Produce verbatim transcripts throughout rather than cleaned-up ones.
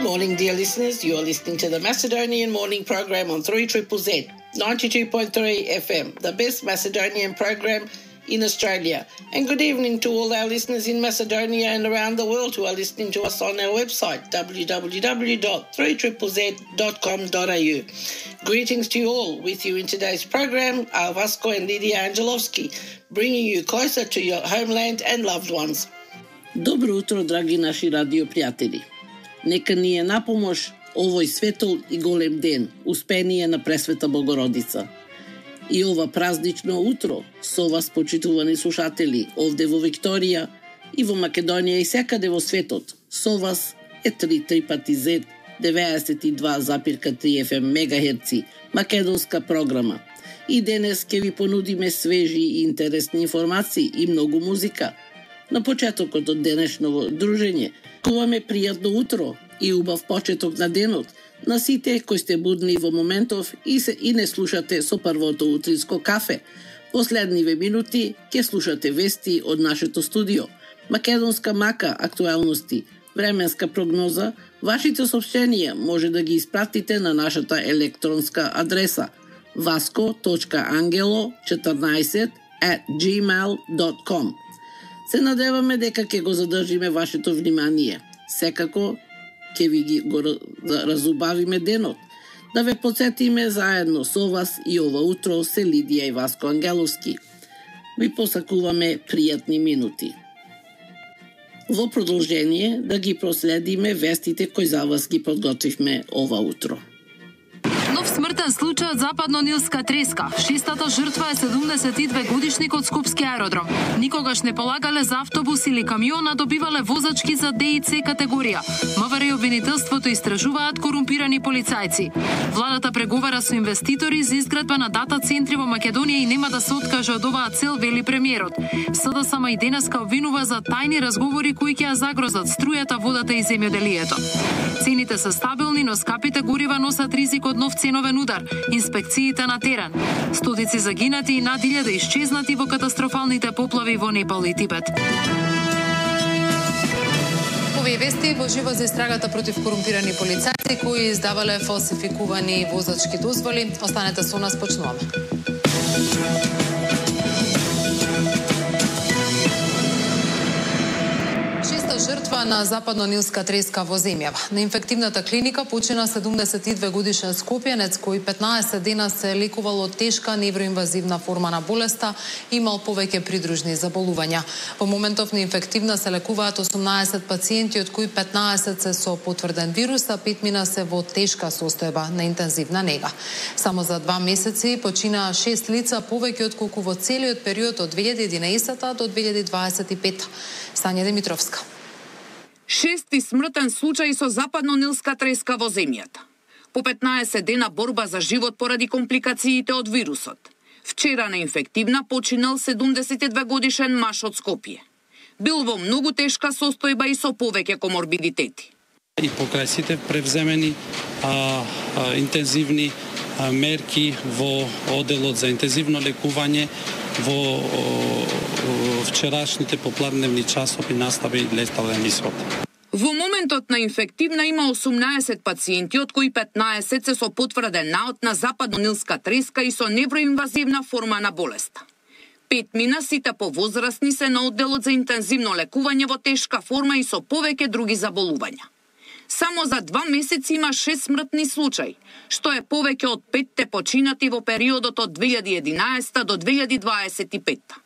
morning, dear listeners. You are listening to the Macedonian Morning Program on three Z Z Z, ninety-two point three F M, the best Macedonian program in Australia. And good evening to all our listeners in Macedonia and around the world who are listening to us on our website, w w w dot three z z z dot com dot a u. Greetings to you all. With you in today's program are Vasco and Lydia Angelovski, bringing you closer to your homeland and loved ones. Добро утро, драги наши радиопријатели. Нека ни е напомош овој светол и голем ден, успение на Пресвета Богородица. И ова празнично утро со вас, почитувани слушатели, овде во Викторија и во Македонија и секаде во светот. Со вас е три три пати Z, деветдесет и два запирка три F M мегахерци, македонска програма. И денес ќе ви понудиме свежи и интересни информации и многу музика. На почетокот од денешново дружење, куваме пријатно утро и убав почеток на денот на сите кои сте будни во моментов и се и не слушате со првото утринско кафе. Последниве минути ќе слушате вести од нашето студио, македонска мака, актуелности, временска прогноза. Вашите сообщенија може да ги испратите на нашата електронска адреса vasco точка angelo четрнаесет at gmail dot com. Се надеваме дека ќе го задржиме вашето внимание. Секако ќе ви ги го разубавиме денот. Да ве подсетиме заедно со вас и ова утро се Лидија и Васко Ангеловски. Ви посакуваме пријатни минути. Во продолжение да ги проследиме вестите кои за вас ги подготвивме ова утро. Нов смртен случај од западно-нилска треска. Шестата жртва е седумдесет и две годишник од Скопски аеродром. Никогаш не полагале за автобус или камион, а добивале возачки за Д и С категорија. МВР и обвинителството истражуваат корумпирани полицајци. Владата преговара со инвеститори за изградба на дата центри во Македонија и нема да се откаже од оваа цел, вели премиерот. С Д С М и денеска обвинува за тајни разговори кои ќе ја загрозат струјата, водата и земјоделието. Цените се стабилни, но скапите горива носат ризик од нов ценовен удар. Инспекциите на терен. Стотици загинати и над илјада исчезнати во катастрофалните поплави во Непал и Тибет. Овие вести во живо за истрагата против корумпирани полицајци кои издавале фалсификувани возачки дозволи. Останете со нас, почнуваме. Жртва на западно-нилска треска во земјава. На инфективната клиника почина седумдесет и две годишен скопјанец кој петнаесет дена се лекувал од тешка невроинвазивна форма на болеста и имал повеќе придружни заболувања. Во моментов на инфективна се лекуваат осумнаесет пациенти, од кои петнаесет се со потврден вирус, а пет мина се во тешка состојба на интензивна нега. Само за два месеци почина шест лица повеќе отколку во целиот период од две илјади и единаесета до две илјади дваесет и пета. Сања Димитровска. Шести смртен случај со западно-нилска треска во земјата. По петнаесет дена борба за живот поради компликациите од вирусот. Вчера на инфективна починал седумдесет и две годишен маж од Скопје. Бил во многу тешка состојба и со повеќе коморбидитети. И покрај сите превземени а, а, интензивни а, мерки во оделот за интензивно лекување, во о, вчерашните попладневни часови настави летален исход. Во моментот на инфективна има осумнаесет пациенти, од кои петнаесет се со потврден наод на западно-нилска треска и со невроинвазивна форма на болеста. Пет мина сите повозрасни се на одделот за интензивно лекување во тешка форма и со повеќе други заболувања. Само за два месеци има шест смртни случаи, што е повеќе од петте починати во периодот од две илјади и единаесета до две илјади дваесет и пета.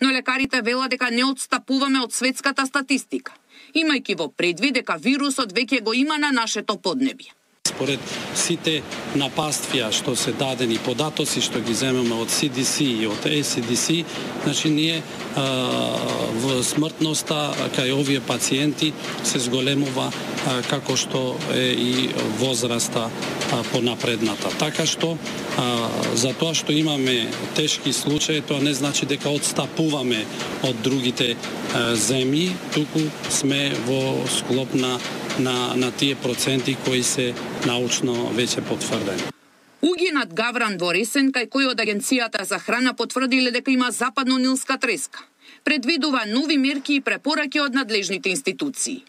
Но лекарите велат дека не отстапуваме од светската статистика, имајќи во предвид дека вирусот веќе го има на нашето поднебје. Според сите напаствија што се дадени податоци што ги земеме од С Д С и од Е С Д С, значи ние а, в смртноста кај овие пациенти се зголемува а, како што е и возраста а, понапредната. Така што а, за тоа што имаме тешки случаи, тоа не значи дека отстапуваме од другите а, земји, туку сме во склоп на на на тие проценти кои се научно веќе потврдени. Угинат Гавран во Ресен, кај кој од Агенцијата за храна потврдиле дека има западно-нилска треска. Предвидува нови мерки и препораки од надлежните институции.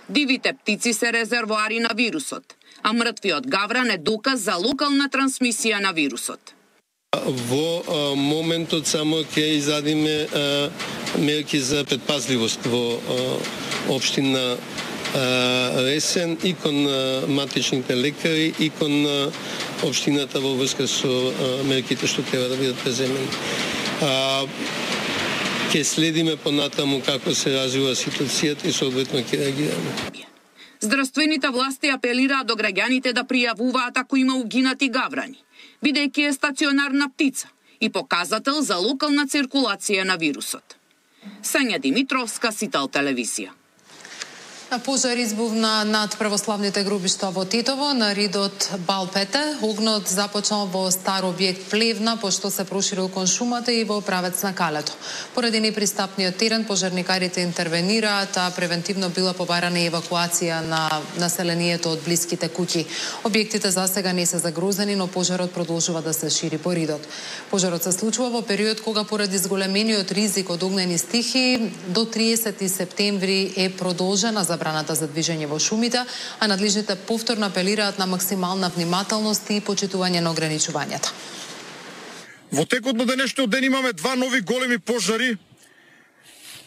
Дивите птици се резервоари на вирусот, а мртвиот гавран е доказ за локална трансмисија на вирусот. Во а, моментот само ќе изадиме а, мерки за предпазливост во а, општина Ресен и кон а, матичните лекари и кон а, општината во врска со а, мерките што треба да бидат преземени. А, Ке следиме понатаму како се развива ситуацијата и соодветно ќе реагираме. Здравствените власти апелираат до граѓаните да пријавуваат ако има угинати гаврани, бидејќи е стационарна птица и показател за локална циркулација на вирусот. Сања Димитровска, Сител телевизија. Пожар избувна над православните гробишта во Тетово на ридот Балпете. Огнот започнал во стар објект Плевна, пошто се проширил кон шумата и во правец на Калето. Поради непристапниот терен, пожарникарите интервенираат, а превентивно била побарана евакуација на населението од блиските куќи. Објектите засега не се загрозени, но пожарот продолжува да се шири по ридот. Пожарот се случува во период кога поради зголемениот ризик од огнени стихии до триесети септември е продолжена забраната за движење во шумите, а надлежните повторно апелираат на максимална внимателност и почитување на ограничувањата. Во текот на денешниот ден имаме два нови големи пожари.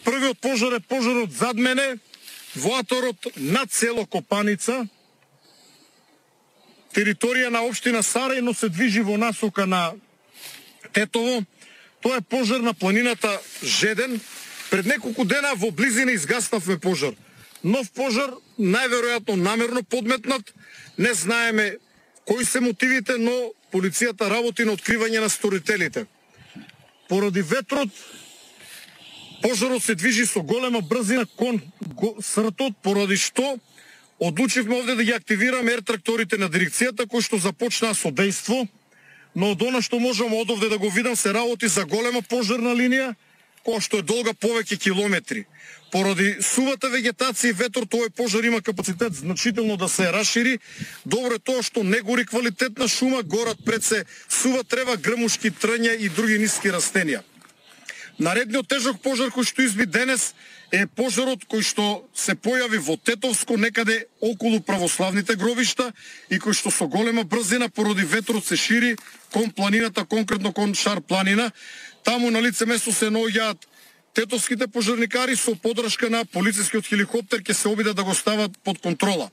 Првиот пожар е пожарот зад мене, во аторот на село Копаница, територија на општина Сарај, но се движи во насока на Тетово. Тоа е пожар на планината Жеден. Пред неколку дена во близина изгаснавме пожар. Нов пожар, најверојатно намерно подметнат. Не знаеме кои се мотивите, но полицијата работи на откривање на сторителите. Поради ветрот, пожарот се движи со голема брзина кон сртот, поради што одлучивме овде да ги активираме ер-тракторите на дирекцијата, кои што започнаа со дејство, но од она што можам од овде да го видам се работи за голема пожарна линија, која што е долга повеќе километри. Поради сувата вегетација и ветор, тој пожар има капацитет значително да се расшири. Добро е тоа што не гори квалитетна шума, горат пред се сува трева, грмушки, трња и други ниски растенија. Наредниот тежок пожар кој што изби денес е пожарот кој што се појави во Тетовско, некаде околу православните гробишта и кој што со голема брзина поради ветрот се шири кон планината, конкретно кон Шар планина. Таму на лице место се наоѓаат тетовските пожарникари со подршка на полицискиот хеликоптер ќе се обидат да го стават под контрола.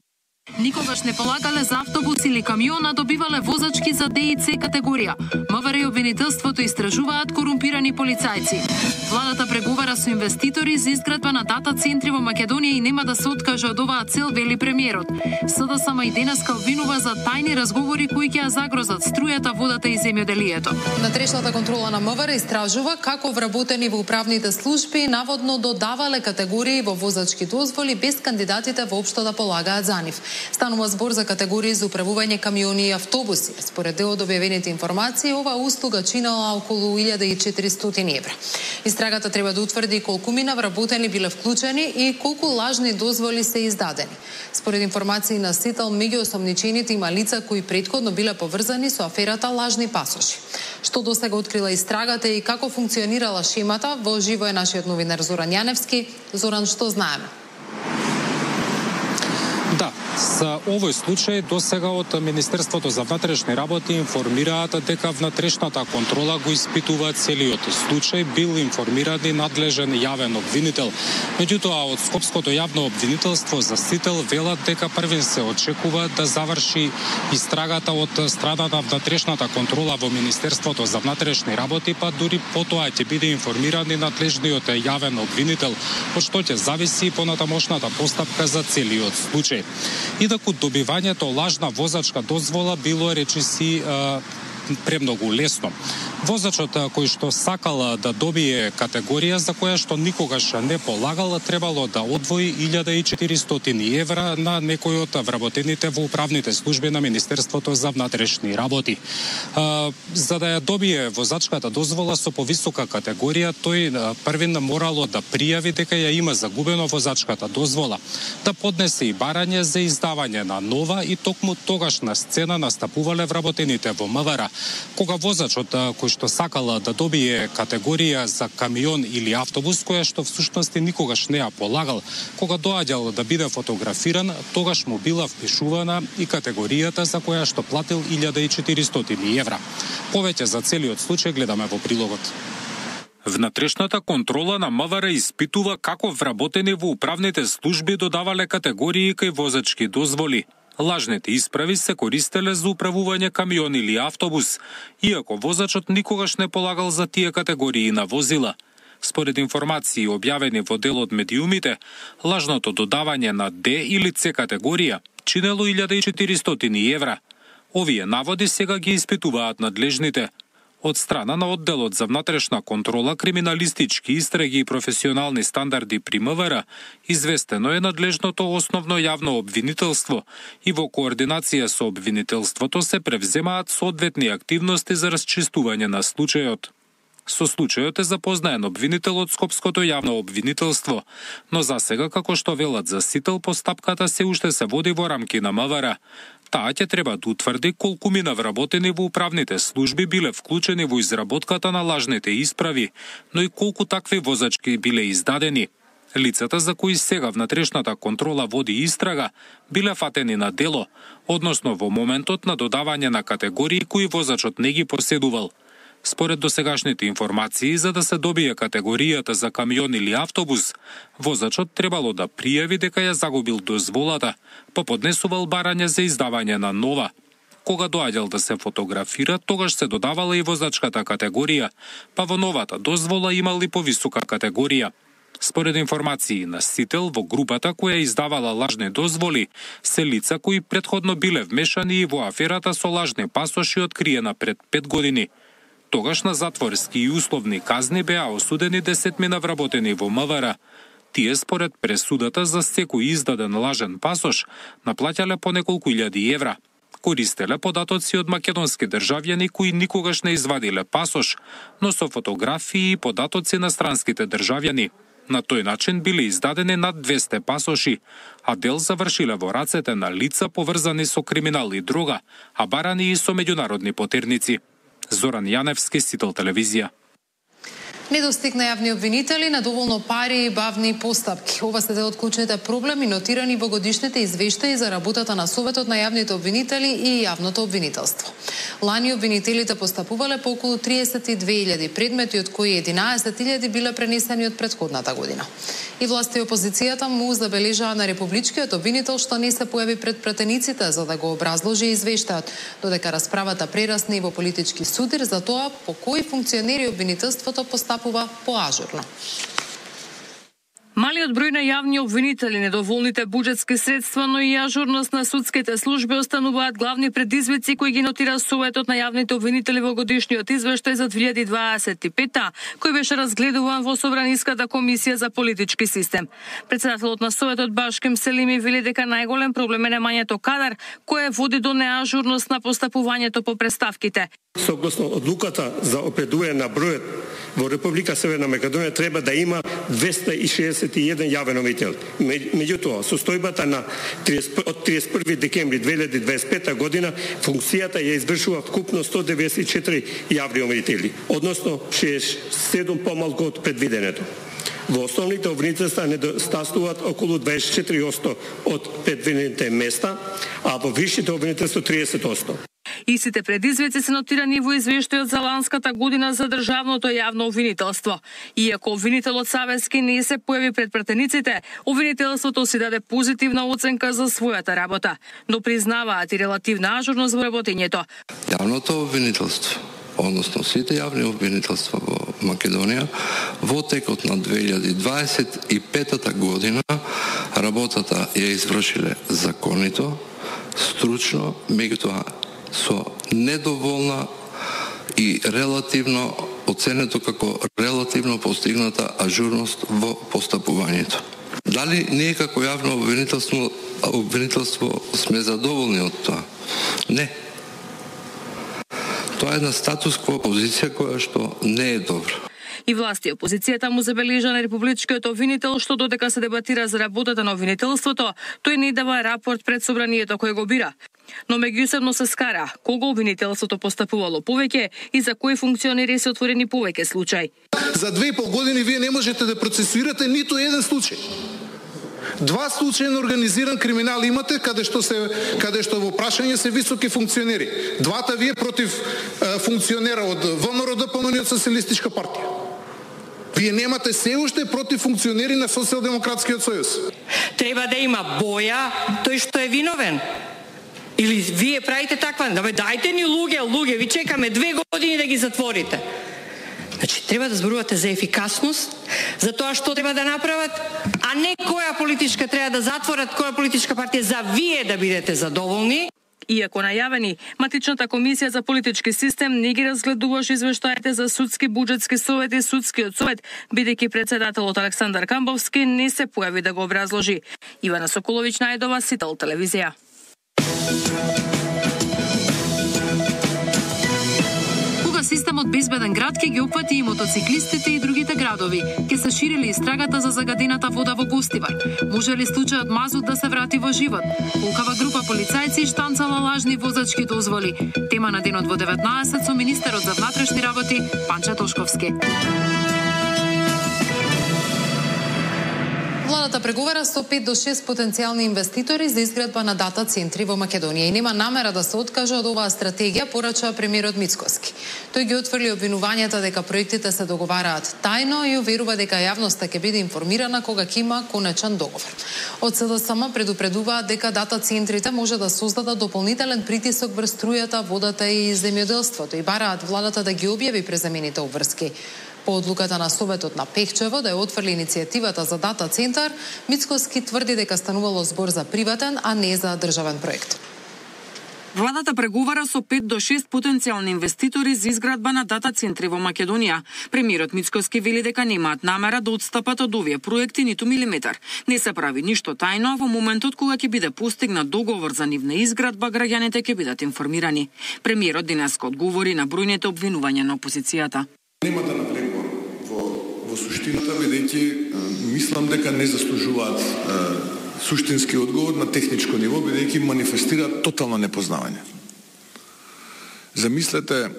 Никогаш не полагале за автобус или камион, а добивале возачки за Д и С категорија. МВР и обвинителството истражуваат корумпирани полицајци. Владата преговара со инвеститори за изградба на дата центри во Македонија и нема да се откаже од оваа цел, вели премиерот. СДСМ и денеска обвинува за тајни разговори кои ќе ја загрозат струјата, водата и земјоделието. Натрешната контрола на МВР истражува како вработени во управните служби наводно додавале категории во возачки дозволи без кандидатите воопшто да полагаат за нив. Станува збор за категории за управување камиони и автобуси. Според дел од објавените информации, оваа услуга чинала околу илјада и четиристотини евра. Истрагата треба да утврди колку мина вработени биле вклучени и колку лажни дозволи се издадени. Според информации на Сител, меѓу осомничените има лица кои претходно биле поврзани со аферата лажни пасоши. Што досега открила истрагата и како функционирала шемата, во живо е нашиот новинар Зоран Јаневски. Зоран, што знаеме? Да, за овој случај досега од Министерството за внатрешни работи информираат дека внатрешната контрола го испитува целиот случај, бил информиран и надлежен јавен обвинител. Меѓутоа, од Скопското јавно обвинителство за Сител велат дека првин се очекува да заврши истрагата од страна на внатрешната контрола во Министерството за внатрешни работи, па дури потоа ќе биде информиран и надлежниот јавен обвинител, од што ќе зависи понатамошната постапка за целиот случај. Инаку добивањето лажна возачка дозвола било речиси премногу лесно. Возачот кој што сакал да добие категорија за која што никогаш не полагал, требало да одвои илјада и четиристотини евра на некој од вработените во управните служби на Министерството за внатрешни работи. За да ја добие возачката дозвола со повисока категорија, тој првин морало да пријави дека ја има загубено возачката дозвола, да поднесе и барање за издавање на нова и токму тогаш на сцена настапувале вработените во МВР, кога возачот кој што сакала да добие категорија за камион или автобус, која што всушност никогаш не ја полагал, кога доаѓал да биде фотографиран, тогаш му била впишувана и категоријата за која што платил илјада и четиристотини евра. Повеќе за целиот случај гледаме во прилогот. Внатрешната контрола на МВР испитува како вработени во управните служби додавале категории кај возачки дозволи. Лажните исправи се користеле за управување камион или автобус, иако возачот никогаш не полагал за тие категории на возила. Според информации објавени во дел од медиумите, лажното додавање на Д или С категорија чинело илјада и четиристотини евра. Овие наводи сега ги испитуваат надлежните. Од страна на одделот за внатрешна контрола, криминалистички истраги и професионални стандарди при МВР, известено е надлежното основно јавно обвинителство и во координација со обвинителството се превземаат соодветни активности за расчистување на случајот. Со случајот е запознаен обвинителот Скопското јавно обвинителство, но засега, како што велат за Сител, постапката се уште се води во рамки на МВР. Таа ќе треба да утврди колку мина вработени во управните служби биле вклучени во изработката на лажните исправи, но и колку такви возачки биле издадени. Лицата за кои сега внатрешната контрола води истрага биле фатени на дело, односно во моментот на додавање на категории кои возачот не ги поседувал. Според досегашните информации, за да се добие категоријата за камион или автобус, возачот требало да пријави дека ја загубил дозволата, па поднесувал барање за издавање на нова. Кога доаѓал да се фотографира, тогаш се додавала и возачката категорија, па во новата дозвола имал и повисока категорија. Според информации на Сител, во групата која издавала лажни дозволи, се лица кои претходно биле вмешани и во аферата со лажни пасоши откриена пред пет години. Тогаш на затворски и условни казни беа осудени десетмина вработени во МВР. Тие според пресудата за секој издаден лажен пасош наплаќале по неколку илјади евра. Користеле податоци од македонски државјани кои никогаш не извадиле пасош, но со фотографии и податоци на странските државјани. На тој начин биле издадени над двесте пасоши, а дел завршиле во рацете на лица поврзани со криминал и дрога, а барани и со меѓународни потерници. Зоран Јаневски, Сител телевизија. Недостиг на јавни обвинители, недоволно пари и бавни постапки. Ова се дел од клучните проблеми нотирани во годишните извештаи за работата на Советот на јавните обвинители и јавното обвинителство. Лани обвинителите постапувале по околу триесет и две илјади предмети, од кои единаесет илјади биле пренесени од претходната година. И власти и опозицијата му забележаа на републичкиот обвинител што не се појави пред пратениците за да го образложи извештајот, додека расправата прерасне и во политички судир за тоа по кои функционери обвинителството постапува поажурно. Малиот број на јавни обвинители, недоволните буџетски средства, но и ажурност на судските служби остануваат главни предизвици кои ги нотира Советот на јавните обвинители во годишниот извештај за две илјади дваесет и пета, кој беше разгледуван во Собраниската комисија за политички систем. Председателот на Советот Башкем Селими вели дека најголем проблем е немањето кадар, кое води до неажурност на постапувањето по преставките. Согласно одлуката за определување на бројот во Република Северна Македонија треба да има двесте и шеесет и еден јавен обвинител. Меѓутоа, состојбата на од триесет и први декември две илјади дваесет и пета година функцијата ја извршува вкупно сто деветдесет и четири јавни обвинители, односно шеесет и седум помалку од предвиденето. Во основните обвинителства недостасуваат околу дваесет и четири одсто од предвидените места, а во висшите обвинителства триесет одсто. Истите предизвици се нотирани во извештајот за ланската година за државното јавно обвинителство. Иако обвинителот Савески не се појави пред пратениците, обвинителството си даде позитивна оценка за својата работа, но признаваат и релативна ажурност во работењето. Јавното обвинителство, односно сите јавни обвинителства во Македонија, во текот на две илјади дваесет и пета година работата ја извршиле законито, стручно, меѓутоа со недоволна и релативно оценето како релативно постигната ажурност во постапувањето. Дали ние како јавно обвинителство, обвинителство сме задоволни од тоа? Не. Тоа е една статус-кво позиција која што не е добра. И власти и опозицијата му забележа на републичкиот обвинител што додека се дебатира за работата на обвинителството, тој не дава рапорт пред собранието кој го бира. Но меѓусебно се скара кога обвинителството постапувало повеќе и за кои функционери се отворени повеќе случаи. За две и пол години вие не можете да процесуирате ниту еден случај. Два случаја на организиран криминал имате каде што се каде што во прашање се високи функционери. Двата вие против е, функционера од ВМРО ДПМН и од Социјалистичка партија. Вие немате се уште против функционери на Социјалдемократскиот сојуз. Треба да има боја тој што е виновен. Или вие правите таква, да бе дајте ни луѓе, луѓе, ви чекаме две години да ги затворите. Значи, треба да зборувате за ефикасност, за тоа што треба да направат, а не која политичка треба да затворат, која политичка партија, за вие да бидете задоволни. Иако најавени, Матичната комисија за политички систем не ги разгледуваше извештаите за судски буџетски совет и судскиот совет, бидејќи председателот Александар Камбовски не се појави да го образложи. Ивана Соколовиќ најдова, Сител телевизија. Системот Безбеден град ќе ги опфати и мотоциклистите и другите градови. Ќе се ширили истрагата за загадената вода во Гостивар. Може ли случајот Мазут да се врати во живот? Колкава група полицајци штанцала лажни возачки дозволи. Тема на денот во деветнаесет со министерот за внатрешни работи Панче Тошковски. Владата преговара со пет до шест потенцијални инвеститори за изградба на дата центри во Македонија и нема намера да се откаже од оваа стратегија, порача премиерот Мицкоски. Тој ги отфрли обвинувањата дека проектите се договараат тајно и уверува дека јавноста ќе биде информирана кога ќе има конечен договор. Од СДСМ предупредуваат дека дата центрите може да создадат дополнителен притисок врз струјата, водата и земјоделството и бараат владата да ги објави преземените обврски. По одлуката на Советот на Пехчево да ја отфрли иницијативата за дата центар, Мицкоски тврди дека станувало збор за приватен, а не за државен проект. Владата преговара со пет до шест потенцијални инвеститори за изградба на дата центри во Македонија. Премиерот Мицкоски вели дека немаат намера да отстапат од овие проекти ниту милиметар. Не се прави ништо тајно, а во моментот кога ќе биде постигнат договор за нивна изградба, граѓаните ќе бидат информирани. Премиерот денеска одговори на бројните обвинувања на опозицијата. Нема да навлегувам во, во суштината, бидејќи мислам дека не заслужуваат е, суштински одговор на техничко ниво, бидејќи манифестираат тотално непознавање. Замислете е,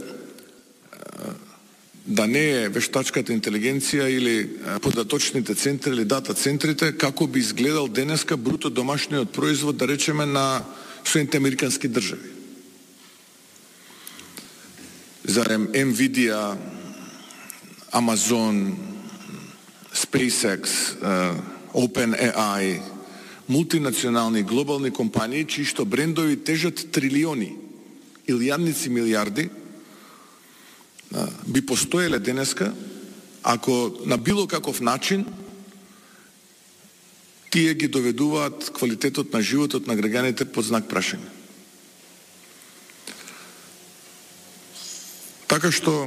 да не е вештачката интелигенција или е, податочните центри или дата центрите, како би изгледал денеска бруто домашниот производ, да речеме, на Соединените американски држави. Зарем Nvidia, Amazon, SpaceX, uh, OpenAI, мултинационални глобални компании, чии што брендови тежат трилиони или јадници милиарди, uh, би постоеле денеска, ако на било каков начин тие ги доведуваат квалитетот на животот на граѓаните под знак прашање. Така што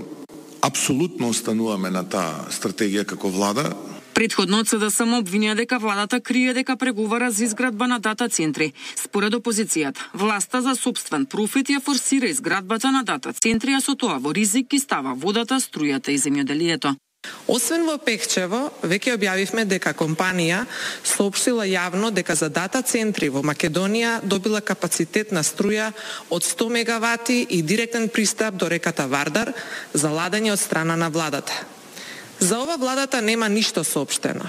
апсолутно остануваме на таа стратегија како влада. Предходно од СДСМ обвинија дека владата крие дека преговара за изградба на дата центри. Според опозицијата, власта за сопствен профит ја форсира изградбата на дата центри, а со тоа во ризик ги става водата, струјата и земјоделието. Освен во Пехчево, веќе објавивме дека компанија соопштила јавно дека за дата центри во Македонија добила капацитет на струја од сто мегавати и директен пристап до реката Вардар за ладење од страна на владата. За ова владата нема ништо соопштено.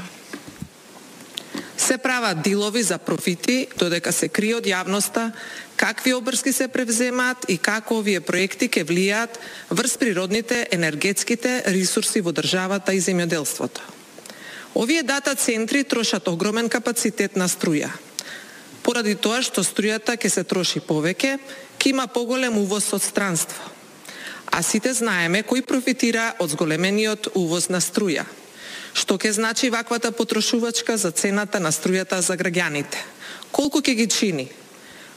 Се прават дилови за профити, додека се крие од јавноста какви обврски се превземаат и како овие проекти ќе влијаат врз природните енергетските ресурси во државата и земјоделството. Овие дата центри трошат огромен капацитет на струја. Поради тоа што струјата ќе се троши повеќе, ќе има поголем увоз од странство. А сите знаеме кој профитира од зголемениот увоз на струја. Што ќе значи ваквата потрошувачка за цената на струјата за граѓаните? Колку ќе ги чини?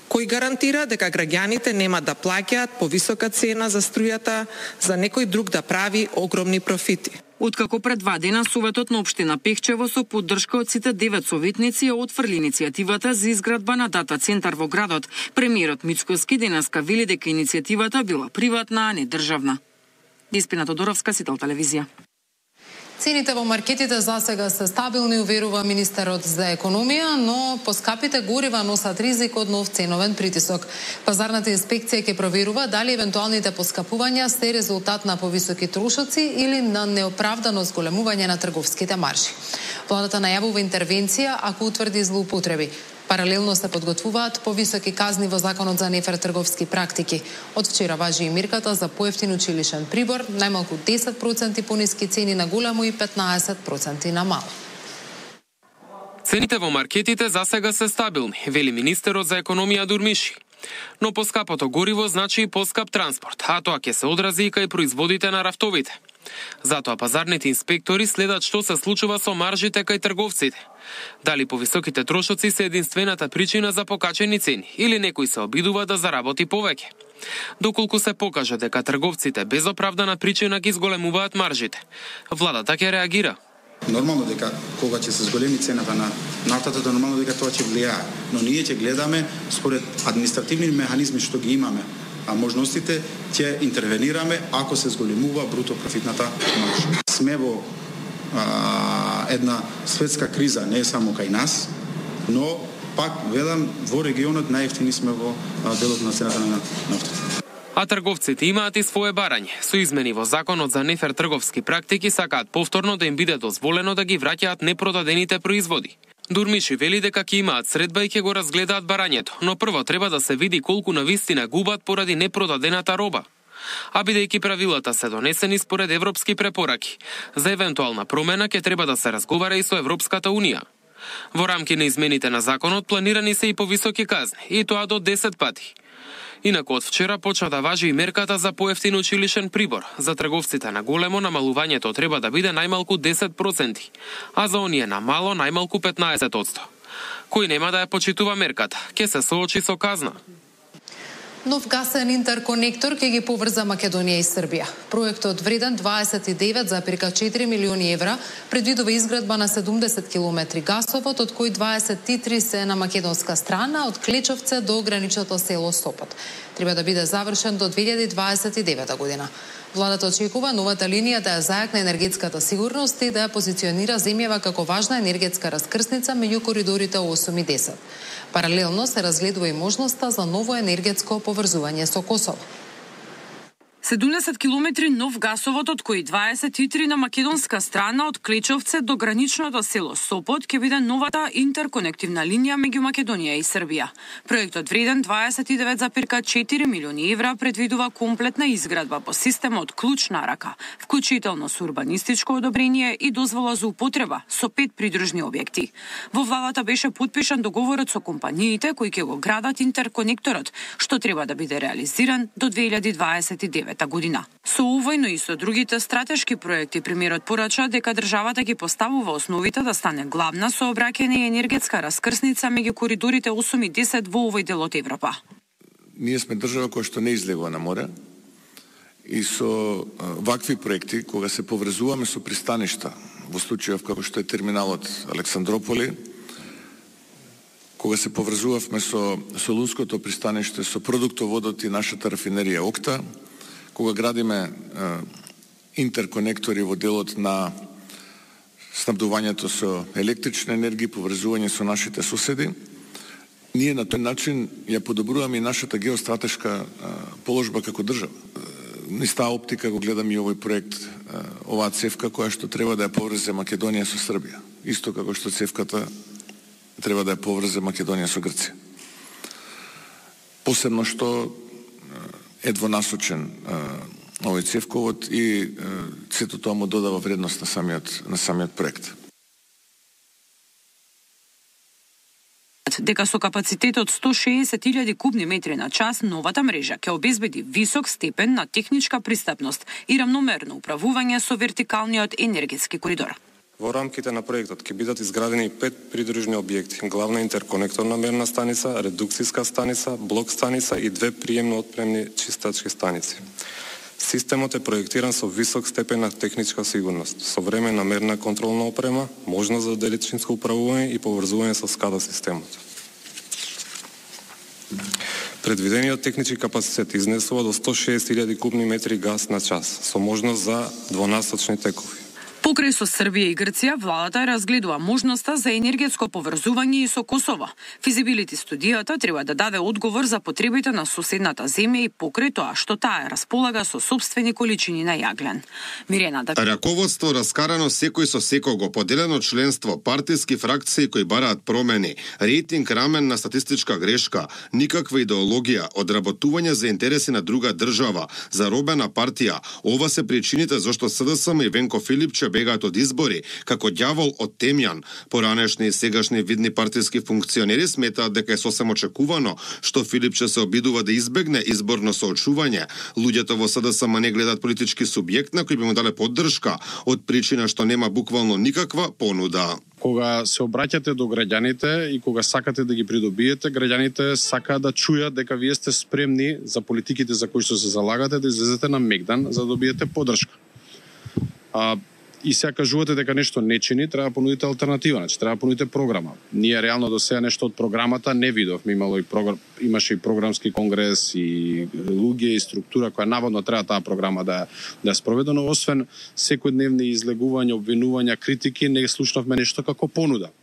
Кој гарантира дека граѓаните нема да плаќаат повисока цена за струјата, за некој друг да прави огромни профити? Откако пред два дена Советот на општина Пехчево со поддршка од сите девет советници ја отфрли иницијативата за изградба на дата центар во градот, премиерот Мицкоски денеска вели дека иницијативата била приватна, а не државна. Диспина Тодоровска, Сител телевизија. Цените во маркетите засега се стабилни, уверува министерот за економија, но поскапите горива носат ризик од нов ценовен притисок. Пазарната инспекција ќе проверува дали евентуалните поскапувања се резултат на повисоки трошоци или на неоправдано зголемување на трговските маржи. Владата најавува интервенција ако утврди злоупотреби. Паралелно се подготвуваат повисоки казни во Законот за нефер трговски практики. Од вчера важи и мерката за поевтин училишен прибор, најмалку десет проценти пониски цени на големо и петнаесет проценти на мало. Цените во маркетите засега се стабилни, вели министерот за економија Дурмиши. Но поскапото гориво значи и поскап транспорт, а тоа ќе се одрази и кај производите на рафтовите. Затоа пазарните инспектори следат што се случува со маржите кај трговците. Дали повисоките трошоци се единствената причина за покачени цени или некој се обидува да заработи повеќе. Доколку се покаже дека трговците без оправдана причина ги зголемуваат маржите, владата ќе реагира. Нормално дека кога ќе се зголеми цената на нафтата, да нормално дека тоа ќе влијае, но ние ќе гледаме според административни механизми што ги имаме, а можностите ќе интервенираме ако се зголемува бруто профитната маржа. Сме во а, една светска криза, не е само кај нас, но пак велам во регионот најевтини сме во а, делот на цената на нафтата. А трговците имаат и свое барање. Со измени во Законот за нефер трговски практики сакаат повторно да им биде дозволено да ги враќаат непродадените производи. Дурмиши вели дека ќе имаат средба и ќе го разгледаат барањето, но прво треба да се види колку навистина губат поради непродадената роба. А бидејќи правилата се донесени според европски препораки, за евентуална промена ќе треба да се разговара и со Европската унија. Во рамки на измените на законот планирани се и повисоки казни, и тоа до десет пати. Инаку од вчера почна да важи и мерката за поевтин училишен прибор. За трговците на големо намалувањето треба да биде најмалку десет проценти, а за оние на мало најмалку петнаесет проценти. Кој нема да ја почитува мерката, ќе се соочи со казна. Нов гасен интерконектор ќе ги поврза Македонија и Србија. Проектот вреден дваесет и девет зарем четири милиони евра предвидува изградба на седумдесет километри гасовод, од кои дваесет и три се на македонска страна, од Клечовце до граничното село Сопот. Треба да биде завршен до две илјади дваесет и девета година. Владата очекува новата линија да ја зајакне енергетската сигурност и да ја позиционира земјава како важна енергетска раскрсница меѓу коридорите осум и десет. Паралелно се разгледува и можноста за ново енергетско поврзување со Косово. седумдесет километри нов гасовод, од кои дваесет и три на македонска страна, од Клечовце до граничното село Сопот, ќе биде новата интерконективна линија меѓу Македонија и Србија. Проектот вреден дваесет и девет зарем четири милиони евра предвидува комплетна изградба по системот клуч на рака, вклучително со урбанистичко одобрение и дозвола за употреба со пет придружни објекти. Во владата беше потпишан договорот со компаниите кои ќе го градат интерконекторот, што треба да биде реализиран до две илјади дваесет и девета година. Со овој, но и со другите стратешки проекти, премиерот порача дека државата ги поставува основите да стане главна сообраќајна и енергетска раскрсница меѓу коридорите осум и десет во овој дел од Европа. Ние сме држава која што не излегува на море и со вакви проекти, кога се поврзуваме со пристаништа, во случајов како што е терминалот Александрополи, кога се поврзувавме со Солунското пристаниште, со продуктоводот и нашата рафинерија Окта, кога градиме е, интерконектори во делот на снабдувањето со електрична енергија, поврзување со нашите соседи, ние на тој начин ја подобруваме и нашата геостратешка е, положба како држава. Низ таа оптика го гледам и овој проект, е, оваа цевка која што треба да ја поврзе Македонија со Србија, исто како што цевката треба да ја поврзе Македонија со Грција. Посебно што е двонасочен овој цевковод и сето тоа му додава вредност на самиот, на самиот проект. Дека со капацитет од сто шеесет илјади кубни метри на час, новата мрежа ќе обезбеди висок степен на техничка пристапност и рамномерно управување со вертикалниот енергетски коридор. Во рамките на проектот ќе бидат изградени пет придружни објекти: главна интерконекторна мерна станица, редукцијска станица, блок станица и две приемно отпремни чистачки станици. Системот е проектиран со висок степен на техничка сигурност, современа мерна контролна опрема, можност за далечинско управување и поврзување со скада системот. Предвидениот технички капацитет изнесува до сто шеесет илјади кубни метри газ на час, со можност за двонасочни текови. Покрај со Србија и Грција, владата разгледува можноста за енергетско поврзување и со Косово. Физибилити студијата треба да даде одговор за потребите на соседната земја и покрај тоа што таа располага со сопствени количини на јаглен. Мирена да... Раководство раскарано секој со секого, поделено членство, партиски фракции кои бараат промени, рейтинг рамен на статистичка грешка, никаква идеологија, одработување за интереси на друга држава, заробена партија. Ова се причините зашто СДСМ и Венко Филипче бегаат од избори, како ѓавол од темјан. Поранешни и сегашни видни партиски функционери сметаат дека е сосем очекувано што Филипче се обидува да избегне изборно соочување. Луѓето во СДСМ не гледаат политички субјект на кој би му дале поддршка, од причина што нема буквално никаква понуда. Кога се обраќате до граѓаните и кога сакате да ги придобиете, граѓаните сакаат да чујат дека вие сте спремни за политиките за кои што се залагате да излезете на мегдан за да добиете поддршка. А, и сега кажувате дека нешто не чини, треба да понудите алтернатива, значи треба да понудите програма. Ние реално до сега нешто од програмата не видовме, имало и програм, имаше и програмски конгрес и луѓе и структура која наводно треба таа програма да да спроведе, но освен секојдневни излегувања, обвинувања, критики, не слушнавме нешто како понуда.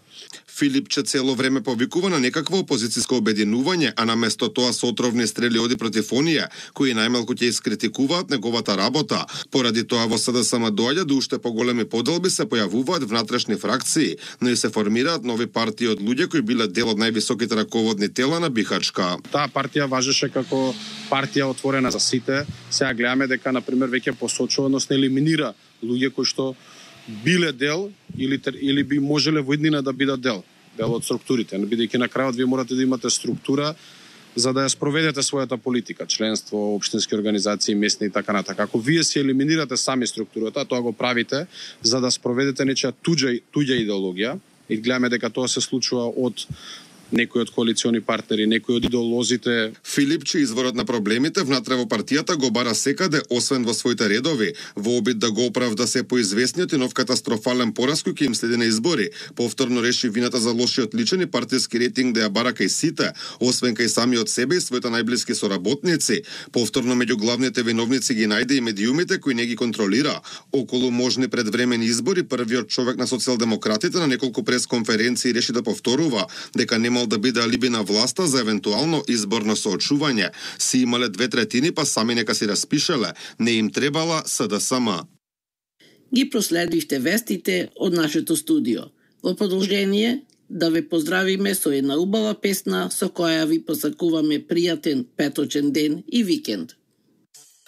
Филипче цело време повикува на некакво опозицијско обединување, а наместо тоа со отровни стрели оди против оние кои најмалку ќе искритикуваат неговата работа. Поради тоа во СДСМ доаѓа до уште поголеми поделби, се појавуваат внатрешни фракции, но и се формираат нови партии од луѓе кои биле дел од највисоките раководни тела на Бихачка. Таа партија важеше како партија отворена за сите. Сега гледаме дека на пример веќе посочува, односно елиминира луѓе кои што биле дел или или би можеле во иднина да бидат дел, дел од структурите, бидејќи на крајот вие морате да имате структура за да ја спроведете својата политика, членство, општински организации, местни и така натака. Ако вие си елиминирате сами структурата, тоа го правите за да спроведете нечија туѓа туѓа идеологија и гледаме дека тоа се случува од некои од коалициони партнери, некои од идеолозите. Филипче изворот на проблемите внатре во партијата го бара секаде, освен во своите редови, во обид да го оправда се поизвестниот и нов катастрофален пораз кој ќе им следи на избори. Повторно реши вината за лошиот личен и партиски рейтинг да ја бара кај сите, освен кај самиот себе и своите најблиски соработници. Повторно меѓу главните виновници ги најде и медиумите кои не ги контролира. Околу можни предвремени избори, првиот човек на социјалдемократите на неколку пресконференции реши да повторува дека немал да биде алиби на власта за евентуално изборно соочување. Си имале две третини, па сами нека си распишеле. Не им требала СДСМ. Ги проследивте вестите од нашето студио. Во продолжение, да ве поздравиме со една убава песна со која ви посакуваме пријатен петочен ден и викенд.